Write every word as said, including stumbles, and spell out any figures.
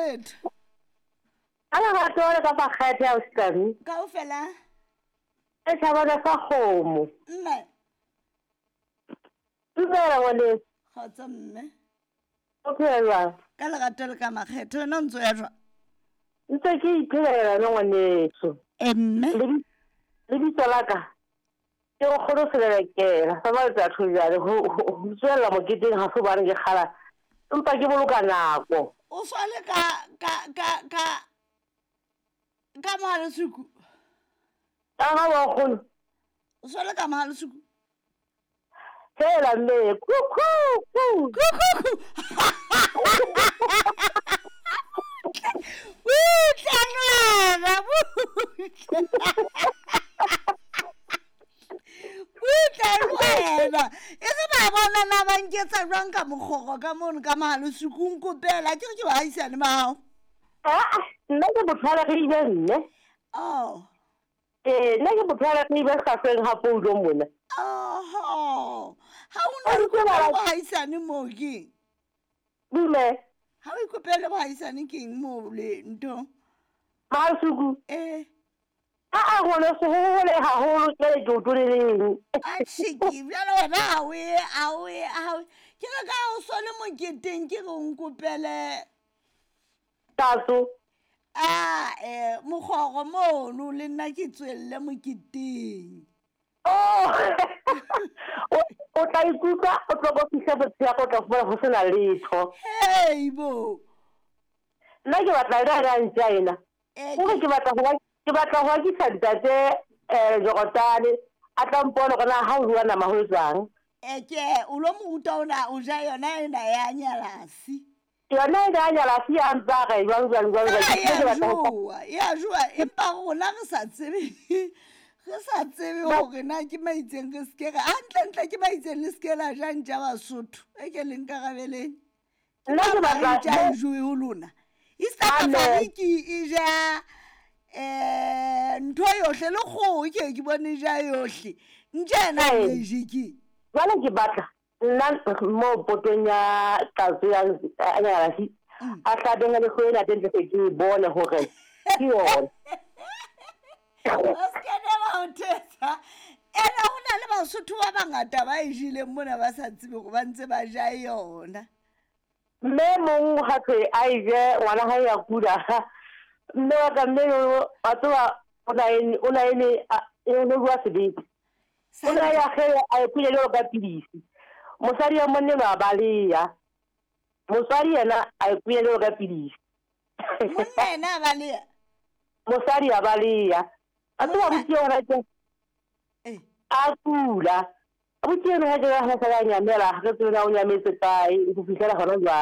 letho. Ka lerato le ka makgethe a ausi. Kaofela. E thabana sa kgomo. Mme. Dumela ngwaneso. Kgotso mme. O phela jwang? Ka lerato le ka makgethe wena o ntso ya jwang? Ntse ke iphelela yona ngwaneso. E mme. Lebitso la ka ke nkgono Selelekela sa matsatsi jwale ho ho tswella moketeng ha se hobane ke kgala empa ke boloka nako. O swale ka ka ka ka ka mohalesuku. Ka ga wa nkgono. O swale ka mohalesuku. Hela mme ku ku ku. Ku ku ku. Butle ngwana butle. Butle wena. E se ba bona na ba nketsa jwang ka mokgoro ka mono ka mohalesuku nkopela ke re ke baahisane ba hao. Ah, nna ke motho wa Leribe mme. Oh. Eh, nna ke motho wa Leribe hlahlweng ha poulo mona. Oho. Ha o na ikopela boahisane moo keng? Dume. Ha o ikopele boahisane keng moo le ntho? Mohalesuku. Eh. A a ngwaneso ho hole haholo jwale ke o toleleng. Atjhe ke bjale wena ha o ye ha o ye ha o ke re ka o sole moketeng ke re o nkopele tatso. Ah, eh mokgoro mono le nna ke tswelle moketeng. Oh. O tla ikutlwa o tlo go fihla botshelo o tla fumana ho sena letho. Hey bo. Nna ke batla ena ya ntja ena. Eh, Hore ke batla ho ke batla ho akisa ntate eh Jorotane a tla mpona hore na ha o bua nama ho jwang. Eh ke o lo mo ruta ona o ja yona ena ya nyalasi. Yona ena ya nyalasi ya ntsa re jwang jwang jwang jwang. Ah, Ke ya batla ho jowa, ya jowa empa rona re sa tsebe. Re sa tsebe hore na ke maitseng re ske re hantlentle ke maitseng le ske la ja ntja Basotho. E ke le nkarabeleng. Ke Nna ke ba batla ntja e jowe ho lona. East Amen. Africa e ja eh ntho yohle le kgoho ke ke bone ja yohle. Ntja ena Ee. e je ke. Jwale ke batla nna mo potong ya tatso ya ya nyalasi Mm. a hlabeng le kgoho ena teng tle ke e bone hore ke yona. O ske ne ba o thetsa. Ena ho na le Basotho ba bangata ba e jeleng mona ba sa tsebe hore ba ntse ba ja yona. Mme mong ha thwe a e je ngwana hae ya kula. Mme wa ka mme yo wa tseba o na ene o na ene e no bua sebete. O na ya ge a e kunya jwalo ka pidisi. Mosadi ya monna enwa a baleha. Mosadi yena a e kunya jwalo ka pidisi. Monna yena a baleha. Mosadi a baleha. A tseba Monna abuti eo ke eh a kula. Abuti eno ha ke ha sa nyamela ha ke tsebe na o nyametse kae ho fihlela hona jwale.